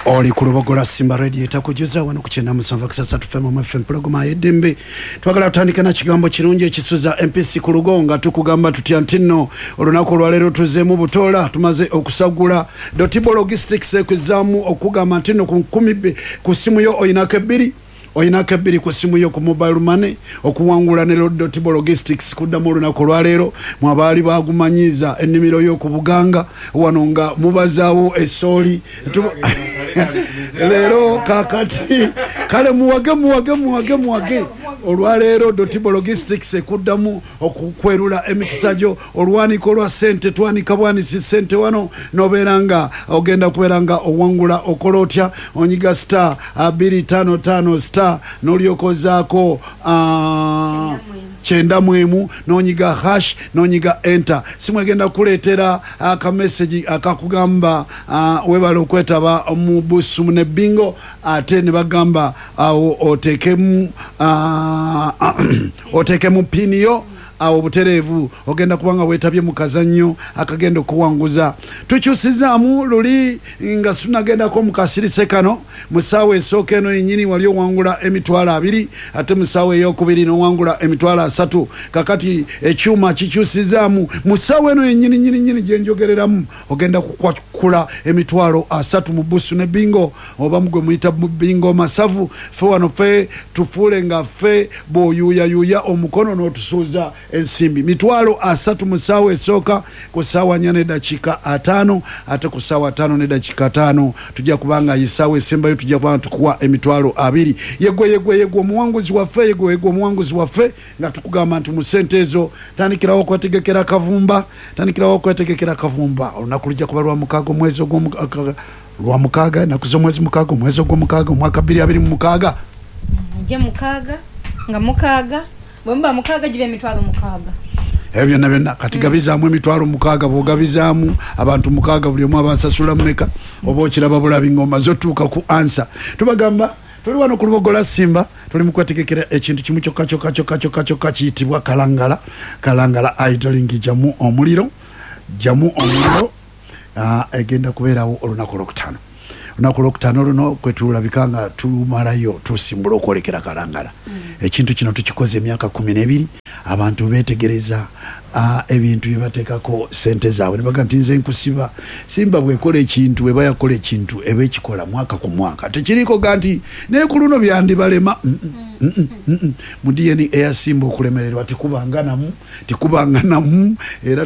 Oli ku Lubogola Simba Radio etakujuza wano ku 97.3 FM FM, pulogoma y'eddembe. Twagala tutandike na kigambo kirungi ekisuza MPC ku lugo, nga tukugamba tutya nti nno olunaku olwaleero tuzeemu butoola, tumaze okusagula Dotibo Logistics ekuzaamu okugamba nti nno ku nkumi ku simu yo oyinako ebbiri, oyinako ebbiri ku simu yo ku mobile money okuwangula ne Dotibo Logistics. Kuddamu olunaku olwaleero mwabaali bagumanyiiza ennimiro y'oku Buganga wano nga mubazaawo esooli. Leero kakati kale muwage, muwage, muwage, muwage. Olwaleero Dotibo Logistics ekuddamu okukwerula emikisa gyo, olwaniko lwa ssente. Twanika bwanisi ssente wano nobeera nga ogenda kubeera nga owangula. Okola otya? Onyiga *255* n'olyokozaako 91, n'onyiga hash, n'onyiga enter. Simu egenda kuleetera akamessage akakugamba webale okwetaba mu busu ne bingo, ate ne bagamba awo oteekemu PIN yo. Awo butereevu ogenda kubanga weetabye mu kazannyo akagenda okuwanguza. Tukyusizaamu luli nga tunagendako mu kasirise kano. Mu ssaawa esooka eno yennyini wali owangula 20,000, ate mu ssaawa eyokubiri nowangula 30,000. Kakati ekyuma kikyusizaamu. Mu ssaawa eno yennyini nyini nyini gyenjogereramu ogenda kukwakula 30,000 mu busu ne bingo, oba mugwe muyita mu bingo masavu. Ffe wano ffe tufuule nga ffe bw'oyuuyayuuya omukono n'otusuuza ensimbi 30,000 mu ssaawa esooka ku ssaawa 4:50, ate ku ssaawa 5:50 tujja kubanga essaawa esembayo tujja kubanga tukuwa 20,000. Yegwe, yegwe, yegwe omuwanguzi waffe, yegwe, yegwe omuwanguzi waffe, nga tukugamba nti mu ssente ezo tandikirawo okwetegekera kavumba, tandikirawo okwetegekera kavumba. Olunaku lujja kuba lwa 6 omwezi lwa 6, ennaku z'omwezi 6, omwezi ogw'omukaaga, omwaka 2026. Mujje 6 nga 6, bwe muba 6 giba 60,000. Ebyo byonna byonna kati gabizaamu 60,000. Bw'ogabizaamu abantu 6, buli omu abasasula mmeka? Oba okiraba bulabi ng'omaze otuuka ku answer. Tubagamba tuli wano ku Lubogola Simba, tuli mu kwetegekera ekintu kimu kyokka kyokka kyokka kyokka kyokka, kiyitibwa Kalangala, Kalangala Idling. Jamu omuliro, jamu omuliro. Egenda kubeerawo olunaku olwokutaano. Olunaku olwokutaano luno kwe tulabika nga tumalayo tusimbula okwolekera Kalangala. Ekintu kino tukikoze emyaka 12. Abantu beetegereza ebintu bye bateekako sente zaabwe ne baga nti nze nkusiba Simba bwekola ekintu, eba yakola ekintu, eba ekikola mwaka ku mwaka. Tekiriiko ga nti naye ku luno byandibalema. Mu DNA eya Simba okulemererwa tikubanga namu, tikubanga namu era.